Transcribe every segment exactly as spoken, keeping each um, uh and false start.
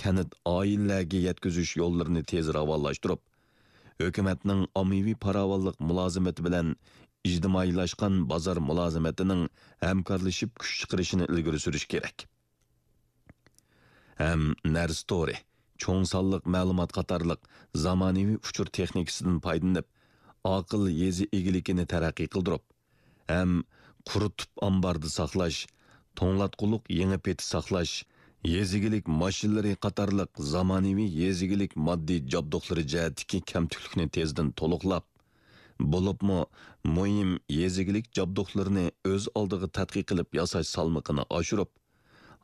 كەنت، ئائىلىلەرگە يەتكۈزۈش يوللىرىنى تېز راۋانلاشتۇرۇپ، ھۆكۈمەتنىڭ ئاممىۋى پاراۋانلىق مۇلازىمىتى بىلەن ئىجتىمائىيلاشقان بازار مۇلازىمىتىنىڭ ھەمكارلىشىپ كۈچ چىقىرىشىنى ئىلگىرى سۈرۈش كېرەك. ھەم نەرسە تورى، چوڭ سانلىق مەلۇمات قاتارلىق زامانىۋى ئۇچۇر تېخنىكىسىدىن پايدىلىنىپ، ئاقىل يېزا ئىگىلىكىنى تەرەققىي قىلدۇرۇپ، ھەم قۇرۇتۇپ ئامباردا ساقلاش، توڭلاتقۇلۇق يېڭى پېتى ساقلاش، يېزا ئىگىلىك ماشىنىلىرى قاتارلىق زامانىۋى يېزا ئىگىلىك ماددىي جابدۇقلىرى جەھەتتىكى كەمتۈكلۈكنى تېزدىن تولۇقلاپ، بولۇپمۇ مۇھىم يېزا ئىگىلىك جابدۇقلىرىنى ئۆز ئالدىغا تەتقىق قىلىپ ياساش سالمىقىنى ئاشۇرۇپ،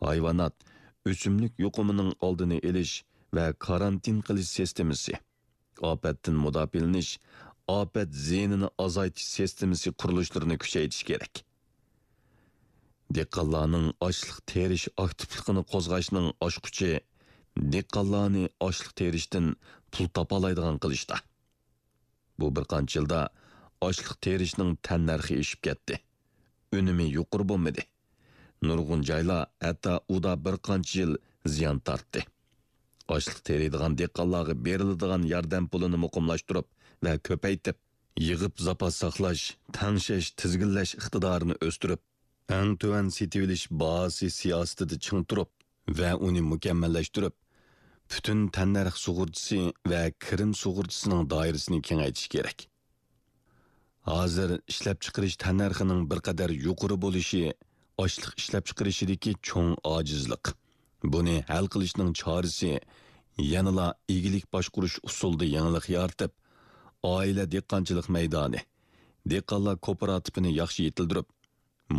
ھايۋانات، ئۆسۈملۈك يۇقۇمىنىڭ ئالدىنى ئېلىش ۋە كارانتىن قىلىش سىستېمىسى، ئاپەتتىن مۇداپىئەلىنىش، ئاپەت زىيىنىنى ئازايتىش سىستېمىسى قۇرۇلۇشلىرىنى كۈچەيتىش كېرەك. دېھقانلارنىڭ ئاشلىق تېرىش ئاكتىپلىقىنى قوزغاشنىڭ ئاچقۇچى دېھقانلارنى ئاشلىق تېرىشتىن پۇل تاپالايدىغان قىلىشتا. بۇ بىر قانچە يىلدا ئاشلىق تېرىشنىڭ تەننەرخى ئېشىپ كەتتى. ئۈنۈمى يۇقىرى بولمىدى. نۇرغۇن جايلار ھەتتا ئۇدا بىر قانچە يىل زىيان تارتتى. ئاشلىق تېرىيدىغان دېھقانلارغا بېرىلىدىغان ياردەم پۇلىنى مۇقىملاشتۇرۇپ ۋە كۆپەيتىپ، يىغىپ زاپاس ساقلاش، تەڭشەش، تىزگىنلەش ئىقتىدارىنى ئۆستۈرۈپ، ئەڭ تۆۋەن سېتىۋېلىش باھاسى سىياسىتىدە چىڭ تۇرۇپ ۋە ئۇنى مۇكەممەللەشتۈرۈپ، پۈتۈن تەننەرخ سۇغۇرتىسى ۋە كىرىم سۇغۇرتىسىنىڭ دائىرىسىنى كېڭەيتىش كېرەك. ھازىر ئىشلەپچىقىرىش تەننەرخىنىڭ بىر قەدەر يۇقىرى بولۇشى ئاشلىق ئىشلەپچىقىرىشىدىكى چوڭ ئاجىزلىق. بۇنى ھەل قىلىشنىڭ چارىسى يەنىلا ئىگىلىك باشقۇرۇش ئۇسۇلىدا يېڭىلىق يارىتىپ، ئائىلە دېھقانچىلىق مەيدانى، دېھقانلار كوپىراتىپىنى ياخشى يېتىلدۈرۈپ،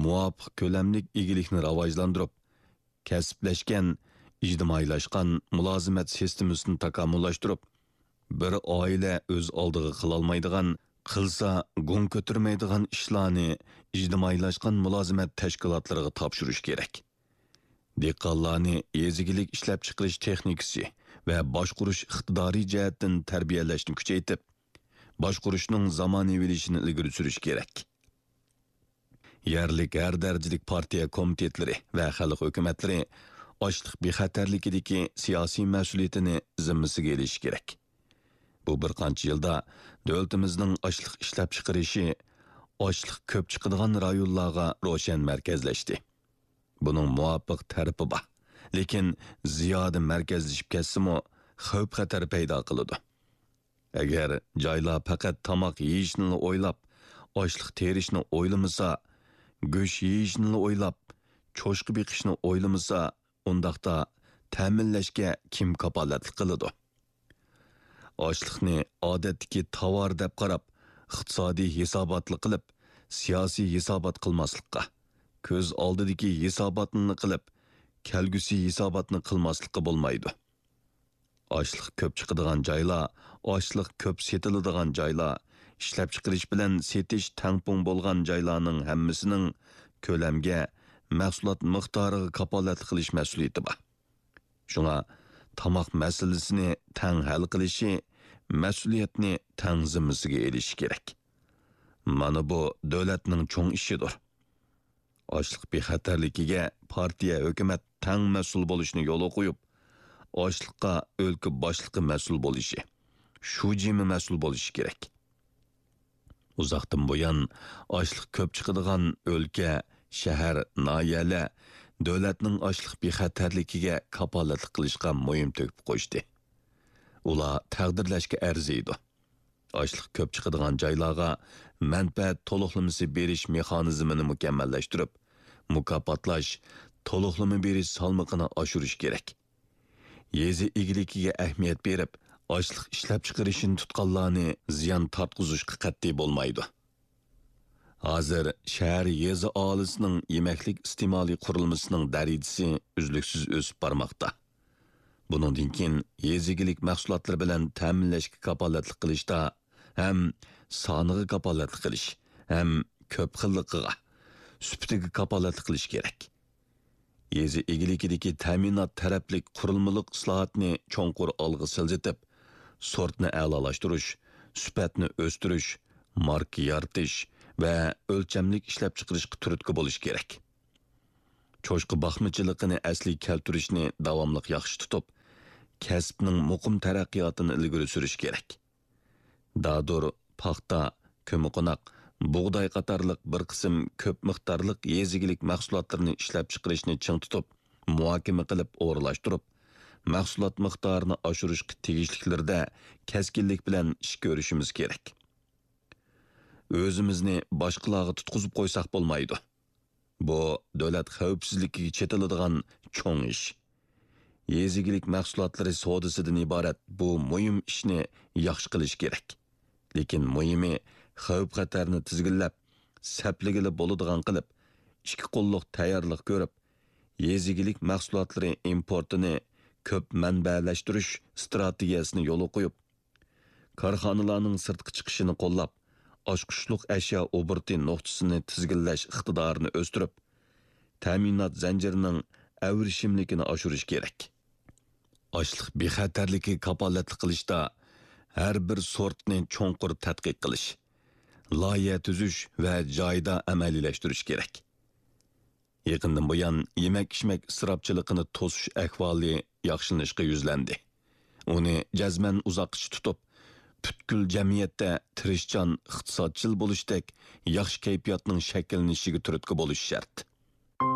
مۇۋاپىق كۆلەملىك ئىگىلىكنى راۋاجلاندۇرۇپ، كەسىپلەشكەن، ئىجتىمائىيلاشقان مۇلازىمەت سىستېمىسىنى تاكامۇللاشتۇرۇپ، بىر ئائىلە ئۆز ئالدىغا قىلالمايدىغان، قىلسا گۇڭ كۆتۈرمەيدىغان ئىشلارنى ئىجتىمائىيلاشقان مۇلازىمەت تەشكىلاتلىرىغا تاپشۇرۇش كېرەك. دېھقانلارنى يېزا ئىگىلىك ئىشلەپچىقىرىش تېخنىكىسى ۋە باشقۇرۇش ئىقتىدارى جەھەتتىن تەربىيەلەشنى كۈچەيتىپ، باشقۇرۇشنىڭ زامانىۋىلىشىشىنى ئىلگىرى سۈرۈش كېرەك. يەرلىك ھەر دەرىجىلىك پارتىيە كومىتېتلىرى ۋە خەلق ھۆكۈمەتلىرى ئاشلىق بىخەتەرلىكىدىكى سىياسىي مەسئۇلىيىتىنى زىممىسىگە ئېلىشى كېرەك. بۇ بىر قانچە يىلدا دۆلىتىمىزنىڭ ئاشلىق ئىشلەپچىقىرىشى ئاشلىق كۆپ چىقىدىغان رايونلارغا روشەن مەركەزلەشتى. بۇنىڭ مۇۋاپىق تەرىپى بار. لېكىن زىيادە مەركەزلىشىپ كەتسىمۇ، خەۋپ-خەتەر پەيدا قىلىدۇ. ئەگەر جايلار پەقەت تاماق يېيىشنىلا ئويلاپ، ئاشلىق تېرىشنى ئويلىمىسا، گۆش يېيىشنىلا ئويلاپ، چوشقا بېقىشنى ئويلىمىسا، ئۇنداقتا تەمىنلەشكە كىم كاپالەتلىك قىلىدۇ؟ ئاشلىقنى ئادەتتىكى تاۋار دەپ قاراپ، ئىقتىسادىي ھېساباتلا قىلىپ، سىياسىي ھېسابات قىلماسلىققا، كۆز ئالدىدىكى ھېساباتنىلا قىلىپ، كەلگۈسى ھېساباتنى قىلماسلىققا بولمايدۇ. ئاشلىق كۆپ چىقىدىغان جايلار، ئاشلىق كۆپ سېتىلىدىغان جايلار، ئىشلەپچىقىرىش بىلەن سېتىش تەڭپۇڭ بولغان جايلارنىڭ ھەممىسىنىڭ كۆلەمگە، مەھسۇلات مىقدارىغا كاپالەتلىك قىلىش مەسئۇلىيىتى بار. شۇڭا تاماق مەسىلىسىنى تەڭ ھەل قىلىشى، مەسئۇلىيەتنى تەڭ زىممىسىگە ئېلىشى كېرەك. مانا بۇ دۆلەتنىڭ چوڭ ئىشىدۇر. ئاشلىق بىخەتەرلىكىگە پارتىيە، ھۆكۈمەت تەڭ مەسئۇل بولۇشنى يولغا قويۇپ، ئاشلىققا ئۆلكە باشلىقى مەسئۇل بولۇشى، شۇجىمۇ مەسئۇل بولۇشى كېرەك. ئۇزاقتىن بۇيان ئاشلىق كۆپ چىقىدىغان ئۆلكە، شەھەر، ناھىيەلەر دۆلەتنىڭ ئاشلىق بىخەتەرلىكىگە كاپالەتلىك قىلىشقا مۇھىم تۆھپە قوشتى. ئۇلار تەقدىرلەشكە ئەرزىيدۇ. ئاشلىق كۆپ چىقىدىغان جايلارغا مەنپەئەت تولۇقلىمىسى بېرىش مېخانىزمىنى مۇكەممەللەشتۈرۈپ، مۇكاپاتلاش، تولۇقلىما بېرىش سالمىقىنى ئاشۇرۇش كېرەك. يېزا ئىگىلىكىگە ئەھمىيەت بېرىپ، ئاشلىق ئىشلەپچىقىرىشنى تۇتقانلارنى زىيان تارتقۇزۇشقا قەتئىي بولمايدۇ. ھازىر شەھەر، يېزا ئاھالىسىنىڭ يېمەكلىك ئىستېمالى قۇرۇلمىسىنىڭ دەرىجىسى ئۈزلۈكسىز ئۆسۈپ بارماقتا. بۇنىڭدىن كېيىن يېزا ئىگىلىك مەھسۇلاتلىرى بىلەن تەمىنلەشكە كاپالەتلىك قىلىشتا ھەم سانىغا كاپالەتلىك قىلىش، ھەم كۆپ خىللىقىغا، سۈپىتىگە كاپالەتلىك قىلىش كېرەك. يېزا ئىگىلىكىدىكى تەمىنات تەرەپلىك قۇرۇلمىلىق ئىسلاھاتنى چوڭقۇر ئالغا سىلجىتىپ، سورتنى ئەلالاشتۇرۇش، سۈپەتنى ئۆستۈرۈش، ماركا يارىتىش ۋە ئۆلچەملىك ئىشلەپچىقىرىشقا تۈرتكە بولۇش كېرەك. چوشقا باقمىچىلىقىنى ئەسلىگە كەلتۈرۈشنى داۋاملىق ياخشى تۇتۇپ، كەسىپنىڭ مۇقىم تەرەققىياتىنى ئىلگىرى سۈرۈش كېرەك. دادۇر، پاختا، كۆممىقوناق، بۇغداي قاتارلىق بىر قىسىم كۆپ مىقدارلىق يېزا ئىگىلىك مەھسۇلاتلىرىنى ئىشلەپچىقىرىشنى چىڭ تۇتۇپ، مۇھاكىمە قىلىپ ئورۇنلاشتۇرۇپ، مەھسۇلات مىقدارىنى ئاشۇرۇشقا تېگىشلىكلىرىدە كەسكىنلىك بىلەن ئىش كۆرۈشىمىز كېرەك. ئۆزىمىزنى باشقىلارغا تۇتقۇزۇپ قويساق بولمايدۇ. بۇ دۆلەت خەۋپسىزلىكىگە چېتىلىدىغان چوڭ ئىش. يېزا ئىگىلىك مەھسۇلاتلىرى سودىسىدىن ئىبارەت بۇ مۇھىم ئىشنى ياخشى قىلىش كېرەك. لېكىن مۇھىمى، خەۋپ-خەتەرنى تىزگىنلەپ، سەپلىگىلى بولىدىغان قىلىپ، ئىككى قوللۇق تەييارلىق كۆرۈپ، يېزا ئىگىلىك مەھسۇلاتلىرى ئىمپورتىنى كۆپ مەنبەلەشتۈرۈش ئىستراتېگىيەسىنى يولغا قويۇپ، كارخانىلارنىڭ سىرتقا چىقىشىنى قوللاپ، ئاچقۇچلۇق ئەشيا ئوبوروتى نۇقتىسىنى تىزگىنلەش ئىقتىدارىنى ئۆستۈرۈپ، تەمىنات زەنجىرىنىڭ ئەۋرىشىملىكىنى ئاشۇرۇش كېرەك. ئاشلىق بىخەتەرلىكىگە كاپالەتلىك قىلىشتا ھەر بىر سورتنى چوڭقۇر تەتقىق قىلىش، لايىھە تۈزۈش ۋە جايىدا ئەمەلىيلەشتۈرۈش كېرەك. يېقىندىن بۇيان يېمەك-ئىچمەك ئىسراپچىلىقىنى توسۇش ئەھۋالى ياخشىلىنىشقا يۈزلەندى. ئۇنى جەزمەن ئۇزاققىچە تۇتۇپ، پۈتكۈل جەمئىيەتتە تىرىشچان، ئىقتىسادچىل بولۇشتەك ياخشى كەيپىياتنىڭ شەكىللىنىشىگە تۈرتكە بولۇش شەرت.